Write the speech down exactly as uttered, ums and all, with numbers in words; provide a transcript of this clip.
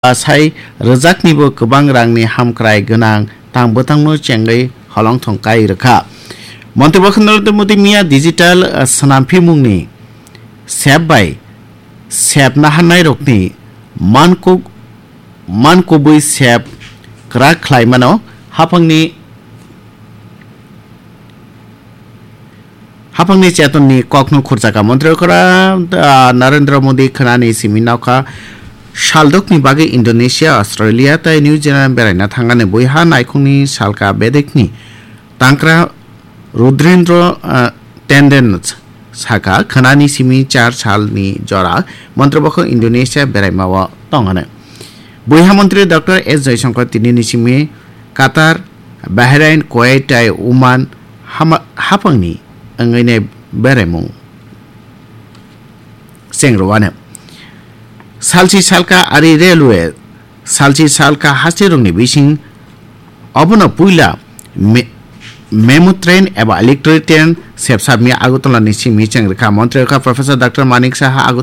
Asai rwjaknibo kwbang rangni hamkrai gwnang tang bwtangno chengwi holongthong kai rwkha. Montri bokha Narendra Modi miya digital, ah, swnampimungni sep bai sep naharnairokni mankuk-, mankubui sep kwrak khlaimano haphangni Haphangni chetonni kokno khurjaka. Montri okra, ah, Narendra Modi khwnani simi nokha saldokni bagwi Indonesia, Australia tei New Zealand beraina thangani buiha naikhungni salka bedekni tangkra Rudrendra, ah, Tenden saka khwnani simi char salni jora montri bokho Indonesia beraimao tongani. Buiha montri Doctor S Jaishankar tinini simi Qatar, Bahrain, Kuwait tei Oman hama-, haphangni wngwini beraimung chengrwano. Salsi salka ari railway, salsi salka haste rokni bising obono puila me-, memo train eba electric train sepsapni Agartala ni simi chengrwkha. Montri wngkha Professor Doctor Manik Saha Agartala